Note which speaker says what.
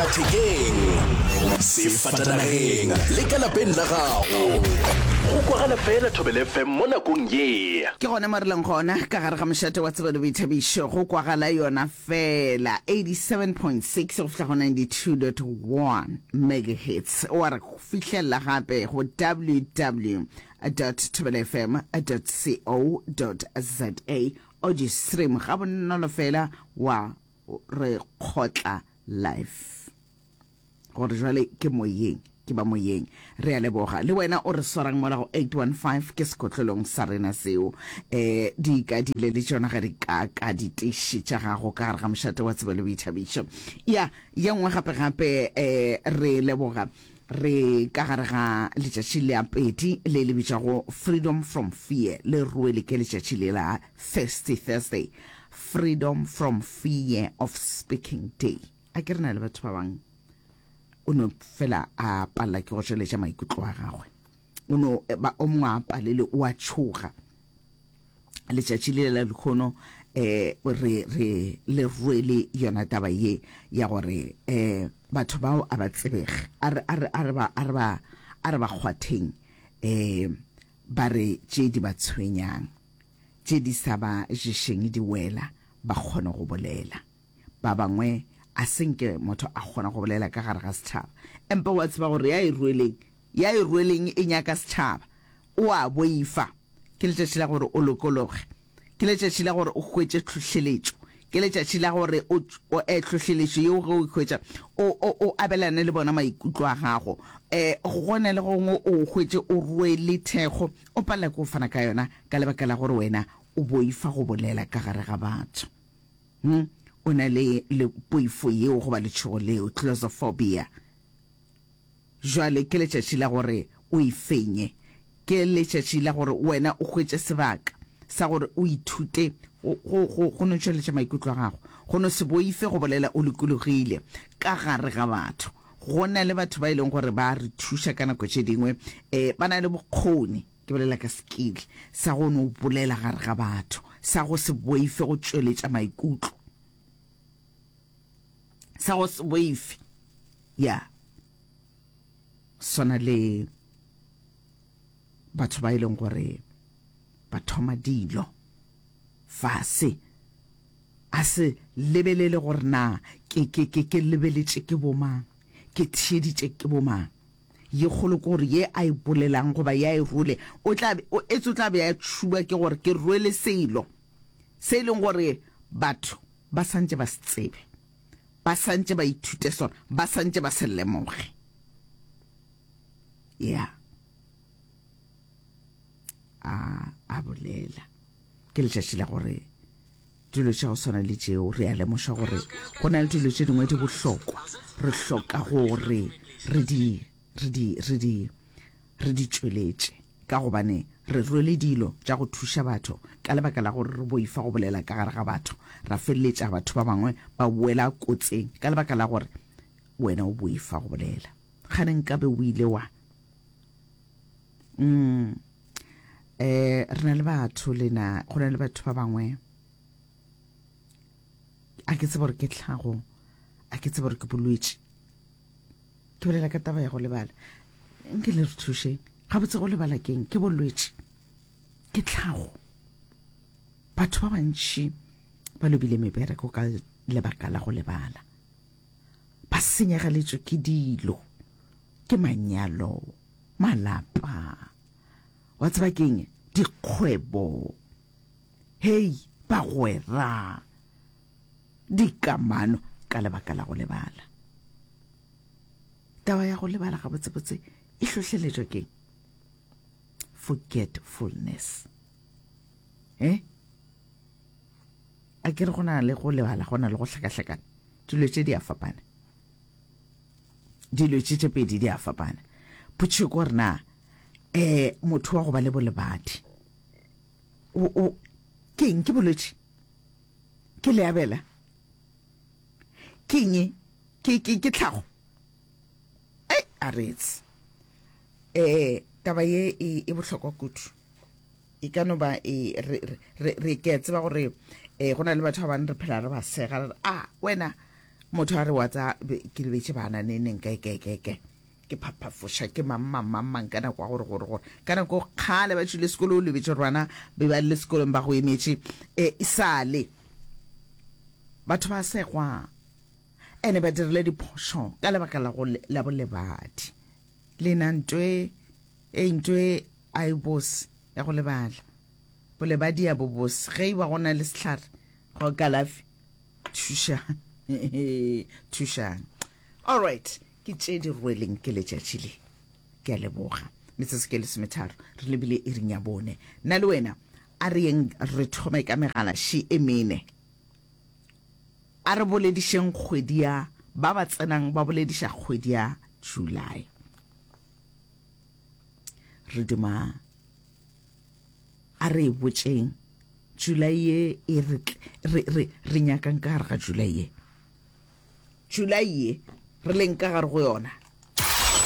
Speaker 1: Sellathekeng, sefatanageng le ka lapeng la gago. Go kwagala fela Thobela FM mo nakong ye.
Speaker 2: Ke gona mo re leng gona ka gare ga mošate wa tsebo le boithabišo, go kwagala yona fela 87.6 go fihla go 92.1 megahertz. Wa re fihlelela gape go www thobelafm co za audio stream gabonolo fela wa re kgotla live gore jwale ke moyeng ke ba moyeng re a leboga le wena o re swarang mola go 815 ke sekotlolong sa rena seo um di ka dile le tšona ga di ka ka diteši tša gago ka gare ga mošate wa tsebo le boithabišo ya ye nngwe gape gape um re leboga Re ka gare ga letšatši la pedi le le bitšwago Freedom from Fear, le rwele ke letšatši le la Thirsty Thursday, Freedom from Fear of Speaking Day. A ke re na le batho ba bang o no fela a palela ke go tšweletša maikutlo a gagwe, o no ba o mongwe a palele o a tšhoga. Letšatši le la lekgono eh re re le rwele yona taba ye ya gore eh batho bao a ba tsebege a re a re a re ba a re ba a re ba kgwatheng eh ba re tše di ba tshwenyang tše di sa ba ješeng di wela ba kgone go bolela ba bangwe a se nke motho a kgona go bolela ka gare ga setšhaba empa wa tseba gore ya e rweleng ya e rweleng e nyaka setšhaba O a boifa. Ke letšatši la gore o lokologe. Ke letšatši la gore o hwetše tlhohleletšo. Ke letšatši la gore o, o, eh, tlhohleletšo yeo ge o e hwetša, o, o, o abelane le bona maikutlo a gago. Eh, go na le gongwe o hwetše o rwele thekgo, o palela ke go fana ka yona ka lebaka la gore wena o boifa go bolela ka gare ga batho. Hm, o na le, le poifo yeo goba letšhogo leo, claustrophobia. Jwale ke letšatši la gore o e fenye. Ke letšatši la gore wena o hwetše sebaka sa gore o ithute go, go, go, go no tšweletša maikutlo a gago, go no se boife go bolela o lokologile ka gare ga batho. Go na le batho ba e leng gore ba re thuša ka nako tše dingwe, eh, ba na le bokgoni, ke bolela ka skill, sa go no bolela gare ga batho, sa go se boife go tšweletša maikutlo, sa go se boife. Ya swana le batho ba e leng gore ba thoma dilo fase a se lebelele gore na ke ke ke ke lebeletše ke bomang ke theeditše ke bomang ye kgolo ke gore ye a e bolelang goba ya e role o tla be o etse o tla be a tšhuba ke gore ke rwele selo se e leng gore batho ba santše ba se tsebe Ba sa ntše ba ithute sona, ba sa ntše ba se lemoge. Ya. A, a bolela. Ke letšatši la gore dilo tša go swana le tšeo re a lemoša gore go na le dilo tše dingwe di bohlokwa re hloka gore re di re di re di re di tšweletše ka gobane re rwele dilo tša go thuša batho ka lebaka la gore re boifa go bolela ka gare ga batho, ra feleletša batho ba bangwe ba wela kotseng ka lebaka la gore wena o boifa go bolela. Kgane nkabe o ile wa. Mm. Eh, re na le batho lena, go na le batho ba bangwe a ke tsebe gore ke tlhago, a ke tsebe gore ke bolwetši. Ke bolela ka taba ya go lebala. Nke le re thušeng. Gabotse go lebala keng? Ke bolwetši. Ke tlhago. Batho ba bantši ba lobile mebereko ka lebaka la go lebala. Ba senyegeletswe ke dilo, ke manyalo, malapa. Wa tseba keng? Dikgwebo. Hei, bagwera. Dikamano ka lebaka la go lebala. Taba ya go lebala gabotsebotse e hlohleletšwa ke'ng? Forgetfulness. Eh? A ke re go na le go lebala, go na le go hlakahlakana. Dilo tše di a fapana. Dilo tše tše pedi di a fapana. Potšišo ke gore na eh motho wa go ba le bolebadi o o ke eng ke bolwetši? Ke leabela? Ke eng? Ke, ke, ke tlhago? Ei, a re etse. Eh, taba ye e, e bohlokwa kudu. E ka no ba e, re, re, re, re, ke a tseba gore eh, go na le batho ba bangwe re phela re ba sega, re re, a, wena, Motho a re wa tsa ke lebetše bana ne neng kae kae kae kae. Ke phaphafoša ke mang mang mang mang ka nako ya gore gore gore ka nako kgale ba tšwile sekolo o lebetše gore bana be ba le sekolong ba go emetše e sale. Batho ba segwa ene ba dirile diphošo ka lebaka la go la bolebadi. Lena ntwe e ntwe a e bose ya go lebala. Bolebadi ya bo bose ge e ba go na le sehlare go kalafi thušang thušang all right ke tše di rweleng ke letšatši le ke a leboga metsotso ke lesometharo re lebile iring ya bone nna le wena a re yeng re thome ka megala še e mene a re boledišeng kgwedi ya ba ba tsenang ba bolediša kgwedi ya July re duma A re e botšeng, July ye e re, re, re, re nyakang ka gare ga July ye. July ye re leng ka gare go yona.